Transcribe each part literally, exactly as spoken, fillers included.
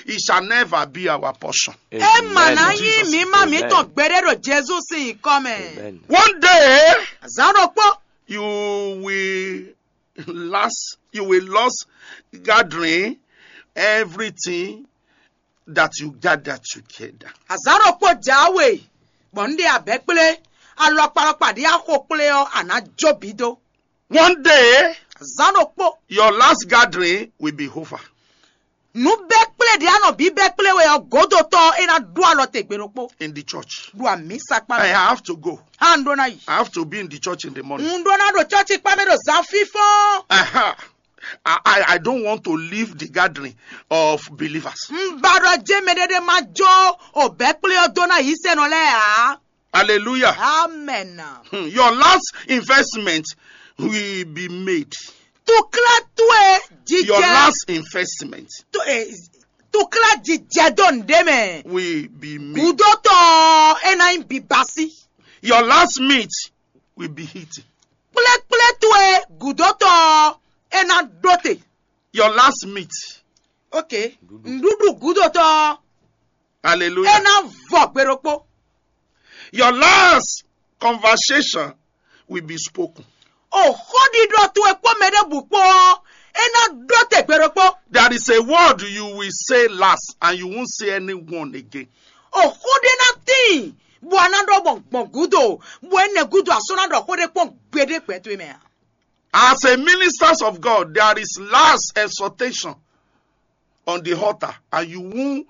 It shall never be our portion. Ema ná nyí mǐmá mǐtɔn gbeɖé ɖo Jezu sín nyǐkɔ mɛ. One day, zǎn ɖokpó, you will last, you will lost gathering everything that you gather together. Azǎn ɖokpó jǎwe, bɔ un ɖe abɛ̌ kplé, alɔkpalɔkpa ɖě axo kplé ɔ́, a nǎ jó bǐ dó. One day, zǎn ɖokpó, your last gathering will be over. Nǔ bɛ́ kplé ɖě a nɔ bǐ bɛ́ kplé wɛ ɔ́, gǒdotɔ́ ɔ́, é ná ɖó alɔ te gbe ɖokpó. In the church. Ɖo amǐsakpa mɛ. I have to go. Há un ɖó ná yi. I have to be in the church in the morning. Un ɖó ná ɖo cɔ́ci kpá mɛ ɖo zǎn fínfɔ́n. Aha. I, I, I don't want to leave the gathering of believers. Un ba ɖɔ jɛ́n mɛɖé ɖé má jó o bɛ́ kplé ɔ́ dó ná yǐsɛ́nɔ lɛ́ɛ ǎ. Hallelujah. Amen. Hmm, your last investment will be made. Tukla towe jijɛ. Your last investment. Tu- eh, tukla jijɛ dó nǔɖé mɛ. Will be made. Gudotɔ e ná nyí bibasi. Your last meat will be eaten. Kplekple towe gudotɔ e ná ɖó te. Your last meat. Ok. Nɖuɖu gudotɔ. Hallelujah. E ná vɔ gbe ɖokpó. Your last conversation will be spoken. O xóɖiɖɔ towe kpó mɛ ɖěbǔ kpó ɔ́, é ná ɖó te gbe ɖokpó. There is a word you will say last and you won't say anyone again. O xó ɖé ná tíin, bɔ a ná ɖɔ gbɔn gbɔn gúdo, bɔ énɛ́ gúdo a sɔ́ ná ɖɔ xó ɖé kpɔ́n gbeɖé gbɛ towe mɛ ǎ. As a ministers of God, there is last exhortation on the altar, and you won't,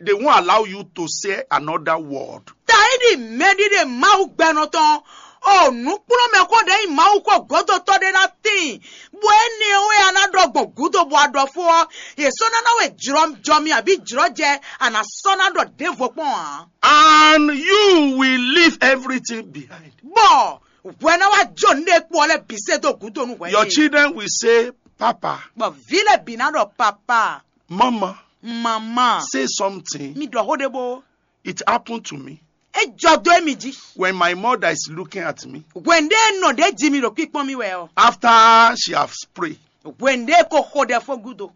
they won't allow you to say another word. Tayi ɖi mɛɖiɖe Mawu gbɛnɔ tɔn, o nǔkplɔ́nmɛ xó ɖě nyí Mawu xó gǒdotɔ́ ɖé ná tíin, bɔ énɛ́ ɔ́ wɛ a ná ɖɔ gbɔn gǔdo bɔ a ɖɔ fó ɔ́, yě sɔ́ ná ná wɛ jlɔjɔmi abǐ jlɔjɛ a nǎ sɔ́ ná ɖɔ ɖěvo kpɔ́n ǎ. And you will leave everything behind. Bɔ hwɛ ná wá jó nǔɖé kpó ɔ́ lɛ́ɛ bǐ sɛ́ dó gǔdo nú hwɛ. Your children will say, Papa. Bɔ vǐ lɛ́ɛ bǐ ná ɖɔ papa. Mama. Mama. Say something. Mi ɖɔ xó ɖé bó. It happened to me. É jɔ dó émi jí. When my mother is looking at me. Hwɛ̌ndé nɔ ɖě jí mi ɖo kpíkpɔ́n mì wɛ ɔ́. After she has prayed. Hwɛ̌ndé ko xo ɖɛ fó gúdo.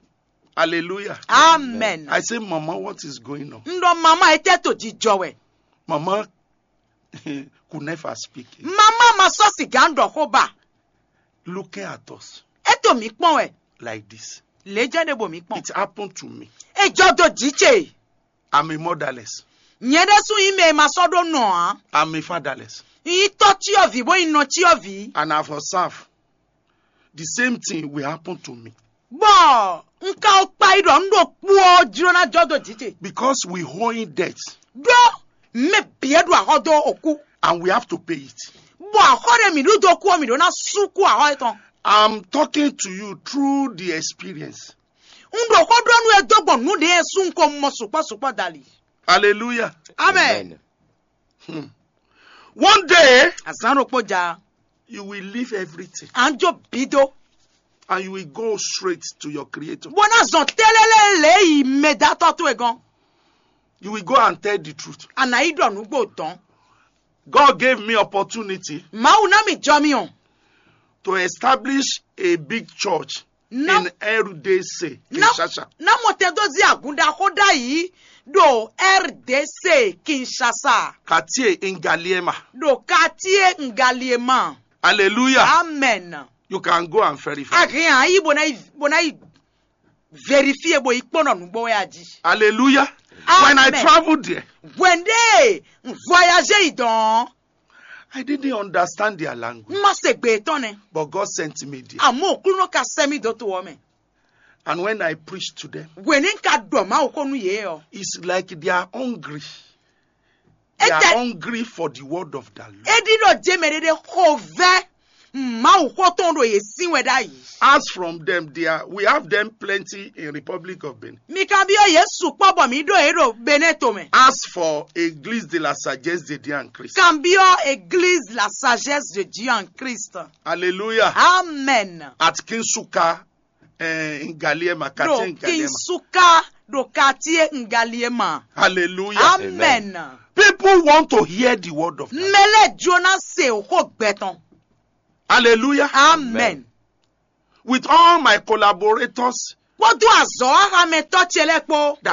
Hallelujah. Amen. I say, Mama, what is going on? Un ɖɔ mama, étɛ́ to jijɔ wɛ. Mama could never speak. Mama ma sɔ́ sìgá un ɖɔ xó ba. Looking at us. É to mǐ kpɔ́n wɛ. Like this. Lě jɛ́n ɖé bo mǐ kpɔ́n. It happened to me. É jɔ dó jǐ ce. I'm a motherless. Nyɛ ɖésú nyí mɛ e ma sɔ́ ɖó nɔ ǎ. I'm a fatherless. Nyí tɔ́ cyɔ́vǐ bó nyí nɔ cyɔ́vǐ. And I've observed the same thing will happen to me. Bɔ un ka wɔ kpa yi ɖɔ un ɖo kpú ɔ́ jló ná jɔ dó jǐ ce. Because we owing debt. Ɖó mɛ bǐ e ɖo axɔ dó okú. And we have to pay it. Bɔ axɔ ɖe mǐ ɖu dó kú ɔ́, mǐ ɖó ná sú kú axɔ étɔn. I'm talking to you through the experience. Un ɖo xó ɖɔ nú we dó gbɔn nǔ ɖě e sú un ko mɔ sukpɔ́ sukpɔ́ dali. Hallelujah. Amen. One day, azán ɖokpó ja, you will leave everything. À ń jó bí dó. And you will go straight to your creator. Bó ná zɔn télélé lě yi mɛdátɔ́ towe gɔ́n. You will go and tell the truth. À nǎ yi ɖɔ nǔgbó dɔn. God gave me opportunity. Mawu ná mi jɔ mi ɔn. To establish a big church in R D C, Kinshasa. Ná mɔ tɛn dó zí agun ɖaxó ɖ'ayǐ ɖo R D C Kinshasa. Quartier Ngaliema. Ɖo quartier Ngaliema. Hallelujah. Amen. You can go and verify. A hɛn a yi bó ná yi bó ná yi vérifier bó yi kpɔ́n ɖɔ nǔgbó wɛ a jí. Hallelujah. Amen. When I traveled there, hwɛndé voyager yi dɔn. I didn't understand their language. Má se gbè tɔn nɛ. But God sent me there. Àmọ́ òkúlùnà ka sẹ́ mi dó to ɔ́ mɛ. And when I preach to them, wèní ka ɖɔ Mawu xó nú yě ɔ. It's like they are hungry. They are hungry for the word of the Lord. É ɖi ɖɔ jɛmɛ ɖé ɖé xo vɛ Mawu xó tɔn ɖo yě sín wɛ ɖ'ayǐ. As from them, they are, we have them plenty in Republic of Benin. Mi kan byɔ́ yě sukpɔ́ bɔ mǐ ɖo yě ɖo Benin tomɛ. As for Église de la Sagesse de Dieu en Christ. Kan byɔ́ Église la Sagesse de Dieu en Christ. Hallelujah. Amen. At Kinsuka, eh, Ngaliema, quartier Ngaliema. Kinsuka ɖo quartier Ngaliema. Hallelujah. Amen. People want to hear the word of God. Mɛ lɛ́ɛ jló ná se xó gbɛ tɔn. Hallelujah. Amen. With all my collaborators. Kpódó azɔ̌ ahamɛtɔ́ ce lɛ́ɛ kpó.